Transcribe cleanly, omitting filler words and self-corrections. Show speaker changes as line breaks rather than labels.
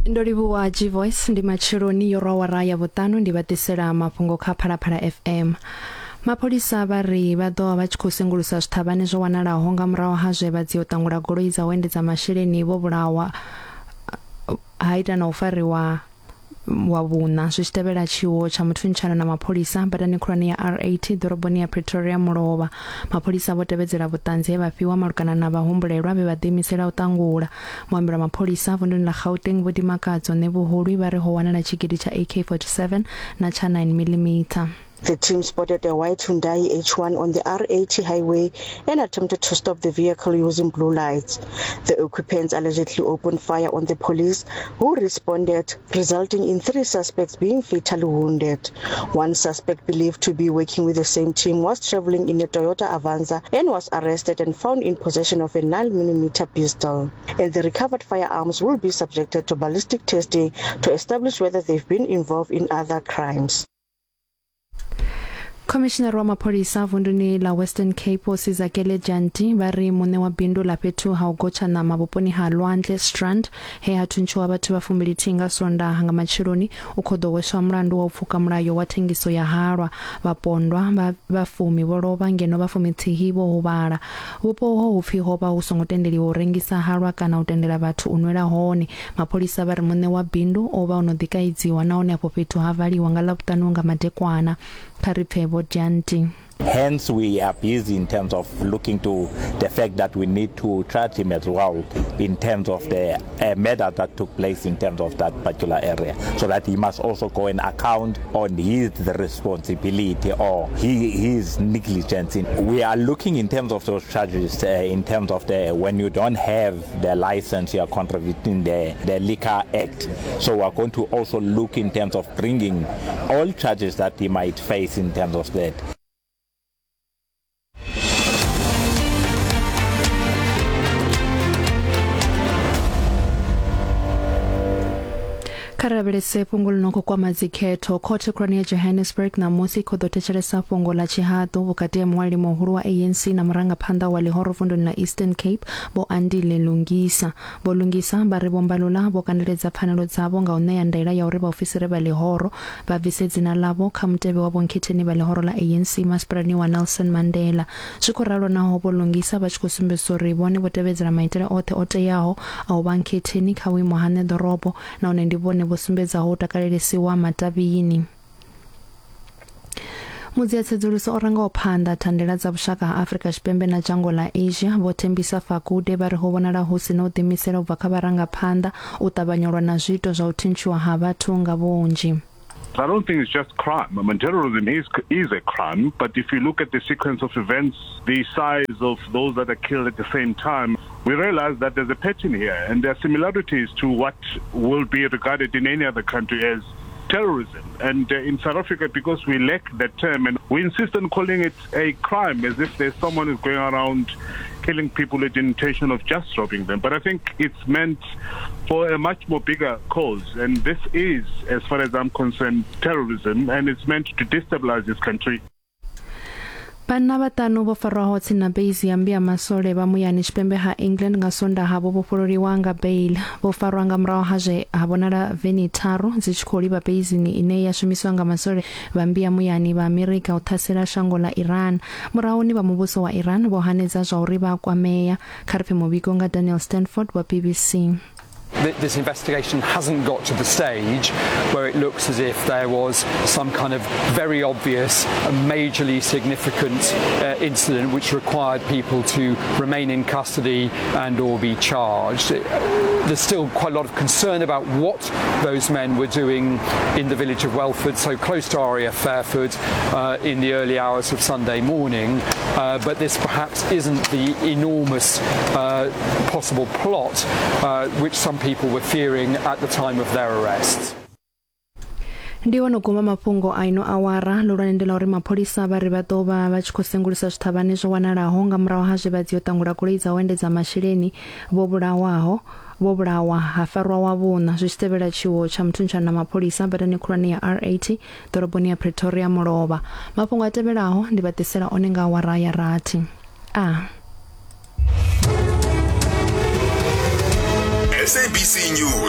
Ndo livhuwa G-Voice ndi matsheloni yo rwa awara ya vhuṱanu ndi vha ḓisela mafhungo kha Phalaphala FM. Mapholisa vha ri vha ḓo vha vha tshi khou sengulusa zwiṱhavhane zwo wanalaho nga murahu ha zwe vha dzia u ṱangula goloi dza u endedza masheleni vho vhulawa ha ita na u fariwa wa vhuṋa zwi tshi tevhela tshiwo tsha muthuntshano na mapholisa badani khulwane ya R80 ḓoroboni ya Pretoria mulovha. Mapholisa vho tevhedzela vhuṱanzi he vha fhiwa malugana na vhahumbulelwa vhe vha ḓiimisela u ṱangula. Muambeli wa mapholisa vunduni ḽa Gauteng Vho Dimakatso Ṋevhuhulwi vha ri ho wanala tshigidi tsha AK-47 na tsha 9 miḽimitha.
The team spotted a white Hyundai H1 on the R80 highway and attempted to stop the vehicle using blue lights. The occupants allegedly opened fire on the police, who responded, resulting in three suspects being fatally wounded. One suspect believed to be working with the same team was traveling in a Toyota Avanza and was arrested and found in possession of a 9mm pistol. And the recovered firearms will be subjected to ballistic testing to establish whether they've been involved in other crimes.
Khomishinari wa mapholisa vunduni ḽa Western Cape Vho Sizakele Dyantyi vha ri muṋe wa bindu ḽa fhethu ha u gotsha ṋama vhuponi ha Lwandle Strand he ha thuntshiwa vhathu vha fumbilithihi nga Sondaha nga matsheloni u khou ḓo hweswa mulandu wa u pfuka mulayo wa thengiso ya halwa. Vhapondwa vha vha fumi vho lovha ngeno vha fumithihi vho huvhala. Vhupo uho hu pfi ho vha hu songo tendeliwa u rengisa halwa kana u tendela vhathu u nwela hone. Mapholisa vha ri muṋe wa bindu o vha o no ḓi kaidziwa nahone afho fhethu ha valiwa nga Ḽavhuṱanu nga madekwana. Kha ri pfe Vho Dyantyi.
Hence we are busy in terms of looking to the fact that we need to charge him as well in terms of the uh, murder that took place in terms of that particular area so that he must also go and account on his responsibility or he, his negligence. In, we are looking in terms of those charges uh, in terms of the when you don't have the license you are contravening the, the Liquor Act. So we are going to also look in terms of bringing all charges that he might face in terms of that.
Kha ri lavhelese fhungo ḽi no khou kwama dzikhetho. Khothe khulwane ya Johannesburg ṋamusi i khou ḓo thetshelesa fhungo ḽa tshihaḓu vhukati ha muṅwaleli muhulu wa ANC na murangaphanḓa wa ḽihoro vunduni ḽa Eastern Cape Vho Andile Lungisa. Vho Lungisa vha ri Vho Mbalula vho kandeledza pfanelo dzavho nga u ṋea ndaela ya uri vhaofisiri vha ḽihoro vha bvise dzina ḽavho kha mutevhe wa vhonkhetheni vha ḽihoro ḽa ANC masipalani wa Nelson Mandela. Zwi khou ralo naho Vho Lungisa vha tshi khou sumbedzisa uri vhone vho tevhedzela maitele oṱhe o teaho a u vha nkhetheni kha vhuimo ha ṋeḓorobo nahone ndi vhone vho sumbedzaho u takalelesiwa matavhini. Mudziatsedzuluso o rangaho phanḓa thandela dza vhushaka ha Afrika Tshipembe na dzhango ḽa Asia, Vho Thembisa Fakude vha ri ho vhonala hu si na u ḓiimisela u bva kha vharangaphanḓa u ṱavhanya u lwa na zwiito zwa u thintshiwa ha vhathu nga vhunzhi.
I don't think it's just crime. I mean, terrorism is, is a crime, but if you look at the sequence of events, the size of those that are killed at the same time, we realize that there's a pattern here, and there are similarities to what will be regarded in any other country as terrorism. And uh, in South Africa, because we lack that term, and we insist on calling it a crime as if there's someone who's going around killing people with the intention of just robbing them. But I think it's meant for a much more bigger cause. And this is, as far as I'm concerned, terrorism, and it's meant to destabilize this country.
Vhanna vhaṱanu vho farwaho tsini na beizi ya mmbi ya masole vha muyani tshipembe ha England nga Sondaha vho vhofhololiwa nga bail. Vho farwa nga murahu ha zwe ha vhonala veni tharu dzi tshi khou livha beizini ine ya shumiswa nga masole vha mmbi ya muyani vha Amerika u ṱhasela shango ḽa Iran. Murahuni vha muvhuso wa Iran vho hanedza zwa uri vha a kwamea. Kha ri pfe muvhigo nga Daniel Stanford wa BBC.
This investigation hasn't got to the stage where it looks as if there was some kind of very obvious and majorly significant uh, incident which required people to remain in custody and or be charged. There's still quite a lot of concern about what those men were doing in the village of Welford, so close to RAF Fairford, uh, in the early hours of Sunday morning. Uh, but this perhaps isn't the enormous uh, possible plot uh, which some people were fearing at the time of their arrests.
Ndi hone u guma mafhungo a ino awara. Ḽihulwane ndi ḽa uri mapholisa vha ri vha ḓo vha vha tshi khou sengulusa zwiṱhavhane zwo wanalaho nga murahu ha zwe vha dzia u ṱangula goloi dza u endedza masheleni vho vhulawaho vho vhulawa ha farwa wa vhuṋa zwi tshi tevhela tshiwo tsha muthuntshano na mapholisa badani khulwane ya R80 ḓoroboni ya Pretoria mulovha. Mafhungo a tevhelaho ndi vha ḓisela one nga awara ya rathi. A.
SABC News.